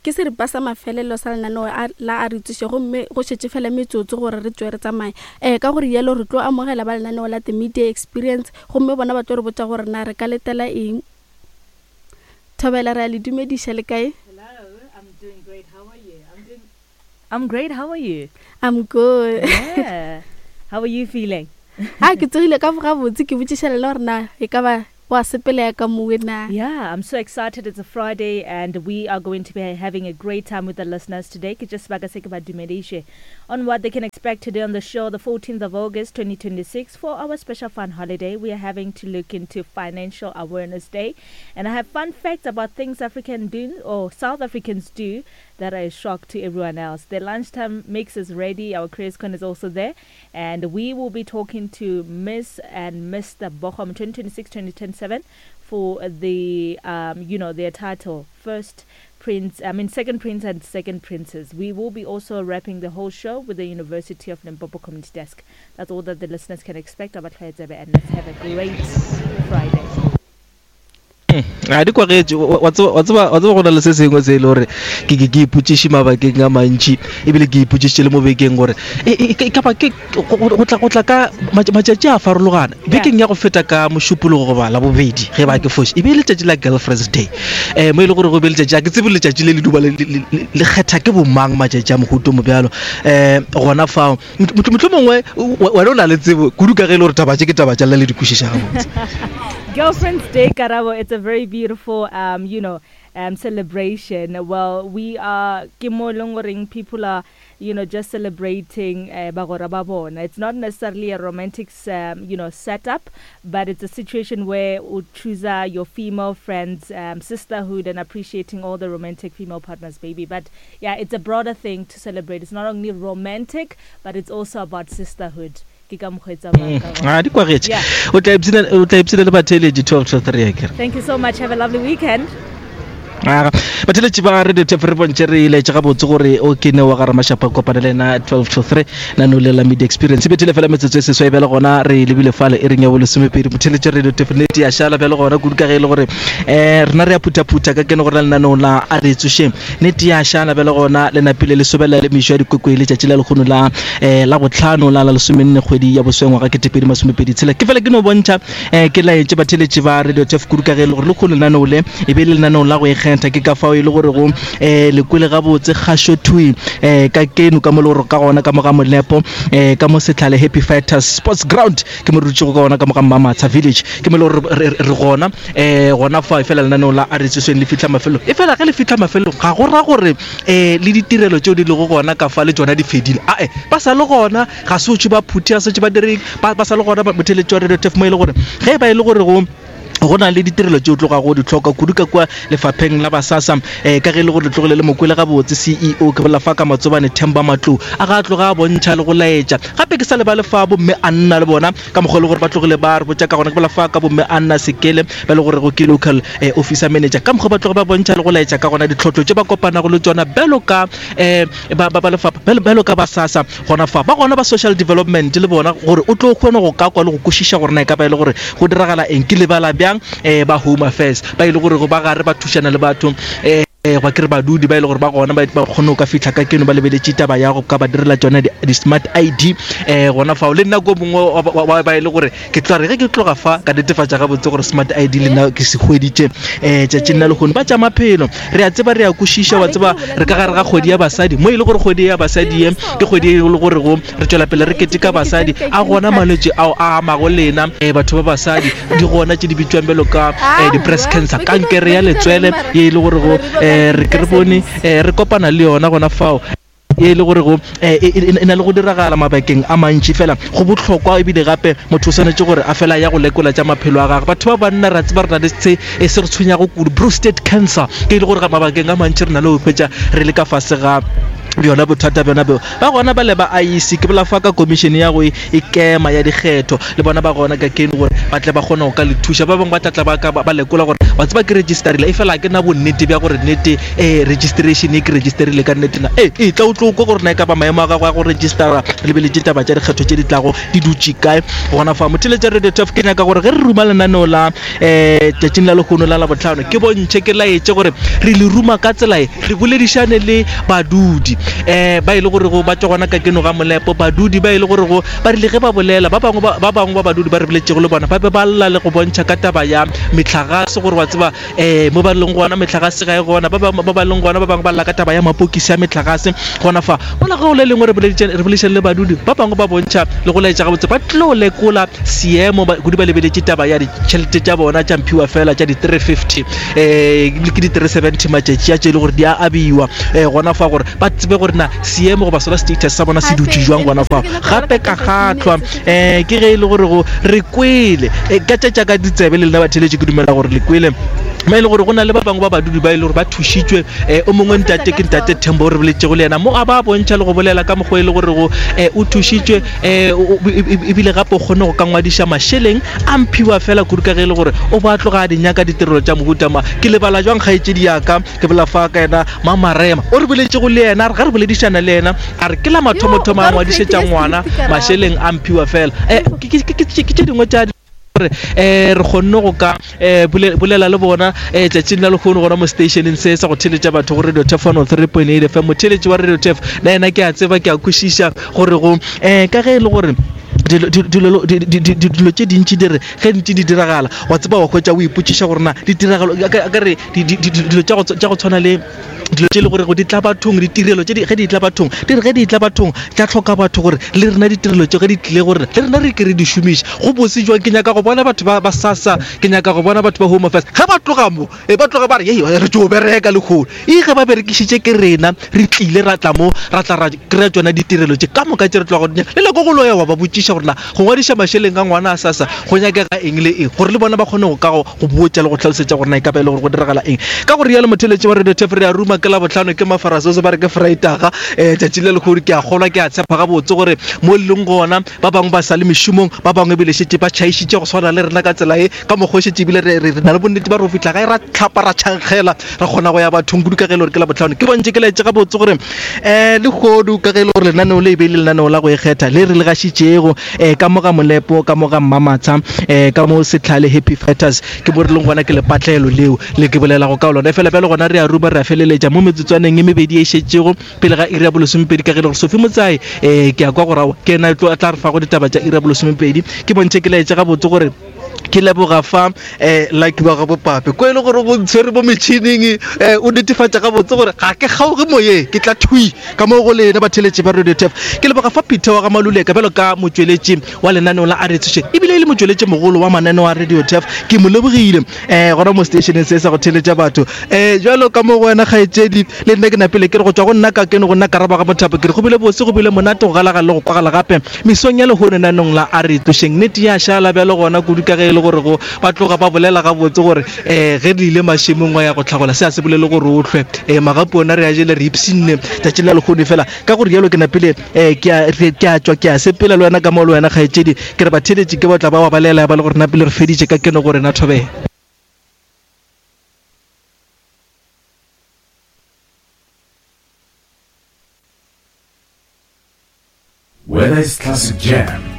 Ke seripa sa mafelelo sa lenaneo la A Re Tsoše gomme go šetše fela metsotso gore re tšwe re tsamaye. Ee, ka go rialo re tlo amogela ba lenaneo la The Media Experience gomme bona ba tlo re botša gore na re ka letela eng. Thobela, re a le dumediša, le kae? Hello, I'm doing great. How are you? I'm doing I'm great. How are you? I'm good. Yeah. How are you feeling? A ke tsogile ka gabotse ke botšiša lena gore na e ka ba Go a sepela ya ka mowe na? Yeah, I'm so excited. It's a Friday and we are going to be having a great time with the listeners today. Ke just sebaka se ke ba dumediše on what they can expect today on the show, the 14th of August 2026. For our special fun holiday, we are having to look into Financial Awareness Day. And I have fun facts about things African do or South Africans do that are a shock to everyone else. The lunchtime mix is ready. Our Chris Con is also there. And we will be talking to Miss and Mr. Bochum 2026-2027 for the, um, you know, their title. First Prince, I mean, Second Prince and Second Princess. We will be also wrapping the whole show with the University of Limpopo Community Desk. That's all that the listeners can expect about and let's have a great Friday. Ga di kwagetše. Wa tseba, wa tseba go na le se sengwe se e le gore ke ke ke ipotšiše mabakeng a mantši ebile ke ipotšišitše le mo bekeng gore e, e, e ka ba ke go tla go tla ka matšatši a farologana. Bekeng ya go feta ka Mošupologo goba Labobedi ge ba ke foše e be e letšatši la Girlfriends Day um mo e le gore go be letšatši a ke tsebe letšatši le le duba le kgetha ke bomang matšatši a mohuto mo bjalo um gona fao Mohlomongwe wena o na le tsebo kudu ka ge e le gore taba tše ke taba tša lena le di kwešiša gabotse. Girlfriend's Day, Karabo, it's a very beautiful, um, you know, um, celebration. Well, we are, ke mo e leng goreng people are, you know, just celebrating uh, bagwera ba bona. It's not necessarily a romantic, um, you know, setup, but it's a situation where o chooser your female friends, um, sisterhood and appreciating all the romantic female partners, baby. But Yeah, it's a broader thing to celebrate. It's not only romantic, but it's also about sisterhood. Ke ka mokgwa e tsamayang ka gona. Ah, di kwagetše. Yeah. O tla ipshina o tla ipshina le batheeletši 12 to 3 akere. Thank you so much. Have a lovely weekend. Aga, batheeletši ba Radio Tef re bontše re laetše gabotse gore o ke ne wa ga Ramashapa kopana le yena 12 to 3 nano le la Media Experience. E bethile fela metsotso e seswai bjale gona re lebile fale e reng ya bolesomepedi. Motheeletši Radio Tef nnete ya šala bjale gona kudu ka ge e le gore um rena re a phuthaphutha ka kene gore na lenaneong la a re tsošeng. Nnete ya šala bjale gona le napile le sobela le mešo ya dikwekwe letšatši la lekgono la eh, la botlhano la la lesomenne kgwedi ya boswe ngwaga ketepedi masomepedi tshela. Ke fela ke no bontšha eh, ke laetše batheletši ba Radio Turf kudu ka ge e le gore lekgono lenaneo le e be e le lenaneo la go ikgetha ke ka fao e le gore go eh, le kwele gabotse kgašo thwi eh, ka keno ka mo le gore ka gona ka mo ga Molepo eh, ka mo Setlhale Happy Fighters Sports Ground ke mo re dutšego ka gona ka mo ga Mmamatsha Village ke mo le gore re gona um gona fa efela lenaneo la a re tsoseng le fitlha mafelong efela ge le fitlha mafelong ga go ra gore um le ditirelo tšeo di lego gona ka fa le tšona di fedile ae ba sa le gona ga se otše ba phuthe ga se otše ba direng ba sa le gona motheletši wa radio tef mo e le gore ge e ba e le gore go go na le ditirelo tšeo tlogago di hloka kudu ka kua lefapheng la basasa um ka ge e le gore le tlogile le mokwele gabotse ceo ke bolela fa ka matsobane themba matlou a ga a tloga a bontšha le go laetša gape ke sa lebale fa bomme a nna le bona ka mokgwa e le gore ba tlogile ba re botša ka gona ke bola fa ka bomme Anna Sekele ba le gore go ke local eh, officer manager ka mokgwa ba tloge ba bontšha le go laetša ka gona ditlhotlo tše ba kopanago le tšona bjalo ka eh, ba ba lefapha bjalo ka ba SASSA gona fa ba gona ba social development le bona gore o tlo kgone go ka kwa le go kwešiša gore na e ka ba e le gore go diragala eng ke lebala bjang eh, ba home affairs ba e le gore go ba gare ba thušana le batho eh, Goba ke re badudi ba e le gore ba gona ba ba kgone go ka fihla ka keno ba lebeletše taba ya go ka ba direla tšona di-smart ID um gona fao le nna ko mongwe wa ba e le gore ke tla re ge ke tloga fa ka netefatša gabotse gore smart ID le nna ke se hweditše um tšatšing la lehono. Ba tša maphelo re a tseba re a kwešiša wa tseba re ka gare ga kgwedi ya basadi mo e le gore kgwedi ya basadi ye ke kgwedi e le gore go re tšwela pele re keteka basadi a gona malwetši ao a amago lena um batho ba basadi di gona tše di bitšwang bjalo ka eh, di-breast cancer kankere ya letswele ye e le gore go eh, re ke re bone eh, re kopana le yona gona fao e le gore go e, e, e na le go diragala mabakeng a mantši fela go bohlokwa ebile gape motho o swanetše gore a fela ya go lekola tša maphelo a gagwe batho ba banna ra tseba re na le se e se re tshwenyago kudu prostate cancer ke e le gore mabakeng a mantši re na le go hwetša re le ka fase ga bjona bothata bjona bjo Ba gona bale ba IEC, ke bolela fa ka komišene ya go ikema ya dikgetho, le bona ba gona ka keno gore ba tle ba kgone go ka le thuša. Ba bangwe ba tla tla ba ka ba lekola gore Wa tseba ke registerile, efela ga ke na bonnete bja gore nnete um registration e ke registerile ka nnete na. Ee, e tla o tlo kwa gore na e ka ba maemo a gago a go registera re lebeletše taba tša dikgetho tše di tlago di dutše kae gona fa. Motheeletša Radio 12 ke nyaka gore ge re ruma lenaneo la um tšatšing la lehono la Labohlano ke bontšhe ke laetše gore re le ruma ka tsela e re boledišane le badudi um ba e le gorego ba tšwa gona ka keno ga molepo badudi ba e le gorego ba rile ge ba bolela ba bangwe ba bangwe ba badudi ba re boletšego le bona ba be ba lla le go bontšha ka taba ya mehlagase gore wa tseba um mo ba leng gona mehlagase ga e gona ba bangwe ba ba leng gona ba bangwe ba lla ka taba ya mapokisi a mehlagase gona fa mola ge go le lengwe re boledišane le badudi ba bangwe ba bontšha le go laetša gabotse ba tlo lekola seemo kudu ba lebeletše taba ya ditšhelete tša bona tša mphiwa fela tša di-350 um ke di-370 matšatši a tše e le gore di a abiwa um gona fa gore ba tsebe gore na seemo goba sona status sa bona se dutše jwang gona fa gape ka gatlhwa um ke ge e le gore go re kwele eh, ka tša ka ditsebe le lena batheletše ke dumela gore le kwele mo e le gore go na le ba bangwe ba badudi ba e le gore ba thušitšwe um o mongwe ntate ke ntate Thembo o re boletšego le yena mo a ba bontšha le go bolela ka mokgwa e le gore go um o thušitšwe um ebile gape o kgone go ka ngwadiša mašeleng a mphiwa fela kudu ka ge e le gore o ba tloga a di nyaka ditirelo tša mohuta ma ke lebala jwang kgaetšedi yaka ke bolela fa ka yena Mamarema o re boletšego le yena a re ga re boledišana le yena a re ke la mathomothomo a ngwadišetša ngwana mašeleng a mphiwa fela um ke tše dingwe tša gore um re kgonne go ka um bolela le bona um tšatšing la lehono gona mo stationeng se sa go theletša batho go Radio Tef 103.8 FM. Motheletši wa Radio Tef le yena ke a tseba ke a kwešiša gore go um ka ge e le gore dilo tše dintši di re ge ntše di diragala wa tseba wa hwetša o ipotšiša gore na ditiragalo ka re dilo tša go tshwana le dilo tše e le gore go di tla bathong ditirelo tše ge di tla bathong di re ge di tla bathong tša tlhoka batho gore le rena ditirelo tše ge di tlile gore le rena re ke re di šomiše go bose jwang ke nyaka go bona batho ba ba sasa ke nyaka go bona batho ba home affairs ge ba tloga mo e ba tloga ba re ye re tšo bereka lekgolo e ge ba berekišitše ke rena re tlile ra tla mo ra tla ra kry-a tsona ditirelo tše ka moka tše re tloga go di nyaka le nako go ya wa ba botšiša gore na go ngwadiša mašeleng a ngwana a sasa go nyakega eng le eng gore le bona ba kgone go ka go botša le go hlalosetša gore na e ka ba e le gore go diragala eng ka go rialo motheletši wa radio tef re a ruma ke labohlano ke mafarasoso ba re ke freitaga um tšatši le lekgolo ke a kgolwa ke a tshepa gabotse gore mo le leng gona ba bangwe ba sa le mešomong ba bangwe ebile šetše ba tšhaišitše go swana le rena ka tsela e ka mokgwa o šetše ebile re na le bonnete ba re go fihla gae ra tlhapa ra tšhankgela ra kgona go ya bathong kudu ka ge e le gore ke labohlano ke bontše ke laetše gabotse gore um lehodu ka ge e le gore lenaneo le e be e le lenaneo la go ikgetha le re le gašitšego um ka mo ga molepo ka mo ga mmamatsha um ka mo setlhale happy fighters ke mo re leng gona ke lepatlelo leo le ke bolelago ka lona fela bjalo gona re a ruma re a feleletša mo metsotswaneng e mebedi e šetšego pele ga iri ya bolesomepedi ka ge e le gore sofi motsae um ke a kwa gore ke ena tlo tla re fago ditaba tša iri ya bolesomepedi ke bontšhe ke laetše gabotse gore ke leboga fa um lucky wa ga bopape ko e le gore go ntshwere mo metšhining um o netefatša gabotse gore ga ke kgaoge moyeng ke tla thui ka mo go lena batheletši ba radio tef ke leboga fa peter wa ga maluleka bjalo ka motšweletši wa lenaneo la aretsoše ebile e le motšweletši mogolo wa mananeo a radio tef ke mo lebogile um gona mo stationeng se sa go theletša batho um jalo ka mo go wena kgaetšedi le nna ke napele ke re go tšwa go nna ka keno go nna karaba ga mothapo ke re go bile bose go bile monate go galagala le go kwagala gape Mesong ya lehono nanong la A re tlošeng nnete ya šala bjalo gona kudu ka ge e le gore go ba tloga ba bolela gabotse gore um ge re ile mašemong wa ya go hlagola se a se bolele gore o hlwe um magapu ona re a jele re ipshinne tšatšing la lehono fela ka gore jalo ke napile um ke a tšwa ke a sepela le wena ka mo le wena kgaetšedi ke re batheeletši ke ba tla ba wa balela ya ba le gore napile re feditše ka keno gore na thobela. Whether it's classic jams,